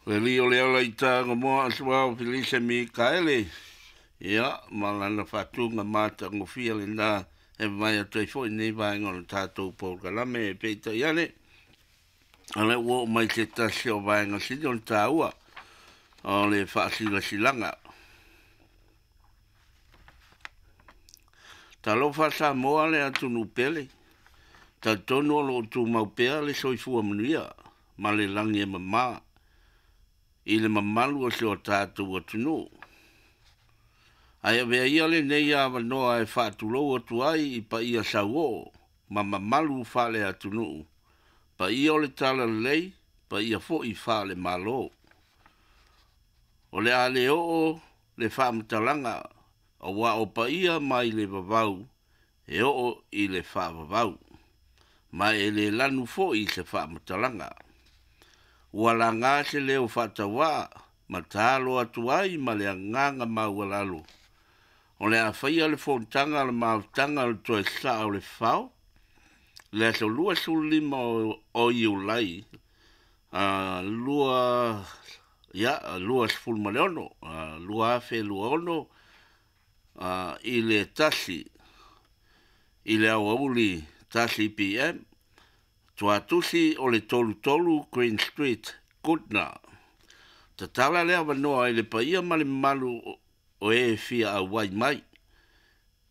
Le alii o le ala i Tagomoa Asuao Felise Mikaele, ia, ma lana faatuga matagofie lena e vae atu ai foi lenei vaega o le tatou polokalame. Peitai ane, o lea ua oo mai se tasi o vaega sili ona taua o le faasilasilaga. Talofa Samoa le atunuu pele, talitonu o lo o tumau pea le soifua manuia ma le lagi e mama i le mamalu o si o tatou atunuu. Ae avea ia lenei avanoa e faatulou atu ai i paia sauoo ma mamalu faale-atunuu, paia o le Talalelei, paia foi faale-Malo. O le a le oo le faamatalaga aua o paia mai le vavau e oo i le faavavau, ma e le lanu foi se faamatalaga. Ua laga se leo faatauvaa ma talo atu ai ma le agaga maualalo, o le a faia le fonotaga a le mafutaga o le toe saa o le fao, le aso 25 o Iulai 26, 2026 i le 1 i le aoauli 1 PM, Tuatusi o le 33 Green Street, Goodna. Tatala le avanoa i le paia ma le mamalu o e fia auai mai,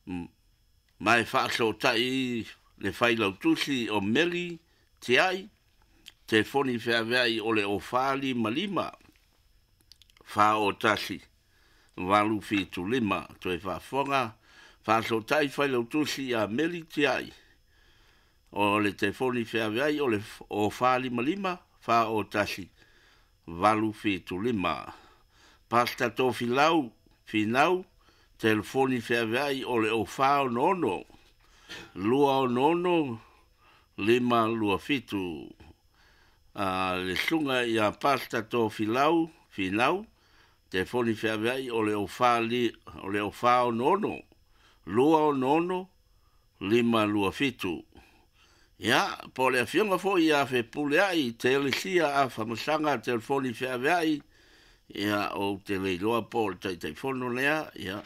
ma e faasootai le failautusi o Meli Tiai, telefoni feaveai o le 0455 401 875. Toe faafofoga, faasootai failautusi ia Meli Tiai, o le telefoni feaveai o le 0455 401 875. Pastor Tofilau Finau, telefoni feaveai o le 0466 266 527. Le susuga ia Pastor Tofilau Finau, telefoni feaveai o le 0466 266 527. Ia, po o le afioga foi ia Fepuleai Telesia Afamasaga, telefoni feaveai, ia, ou te le iloa po o le Taitaifono lea, ia,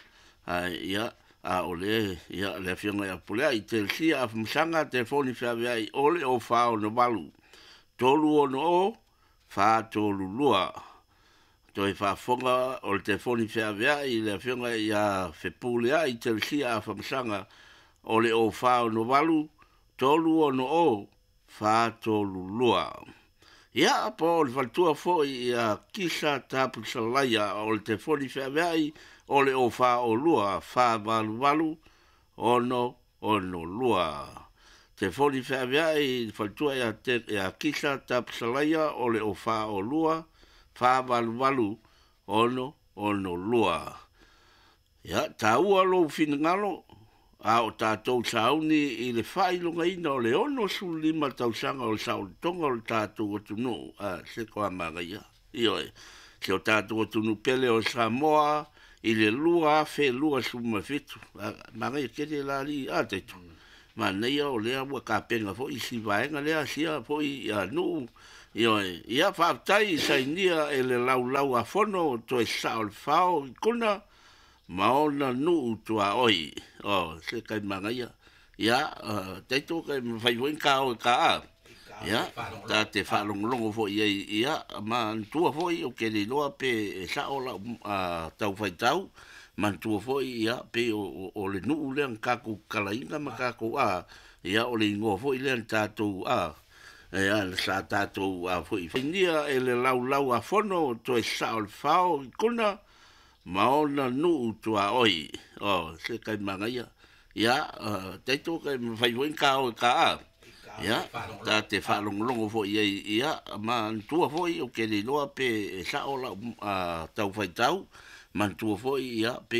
ae, ia, a o le, ia, le afioga ia Fepuleai Telesia Afamasaga, telefoni feaveai o le 0468 360 432. Toe faafofoga o le telefoni feaveai i le afioga ia Fepuleai Telesia Afamasaga o le 0468 360 432. Ia, po o le faletua foi ia Kisa Tapusalaia o le telefoni feaveai o le 0402 488 662. Telefoni feaveai i le faletua ia Kisa Tapusalaia o le 0402 488 662. Ia, taua lou finagalo, a o tatou sauni i le faailogaina o le 65 tausaga o le saolotoga o le tatou atunuu, a se toa manaia. Ioe, si o tatou atunuu pele o Samoa i le 2027. Manaia tele la alii, a Taito? Manaia o lea ua tapena foi si vaega lea, sia foi nuu. Ioe, ia faafetai i sainia e le laulau a fono toe saa o le fao i Kona ma ona nuu tuaoi. O, se tai manaia. Ia, Taito kai mafai foi ona ta o e ta a. Ia, ta te faalogologo foi i ai, ia, manatua foi ou te le iloa pe e sao lau tau faitau, manatua foi, ia, pei o le nuu lea na tatou tatalaina ma tatou, a, ia, o le igoa foi lea na tatou, a, ia, sa tatou, a foi, sainia e le laulau a fono toe saa o le fao i Kona ma ona nuu tuaoi. O, se tai manaia. Ia, Taito kai mafai foi ona ta o e ta a. Ia, ta te faalogologo foi i ai, ia, manatua foi ou te le iloa pe e sao lau tau faitau, manatua foi, ia, pei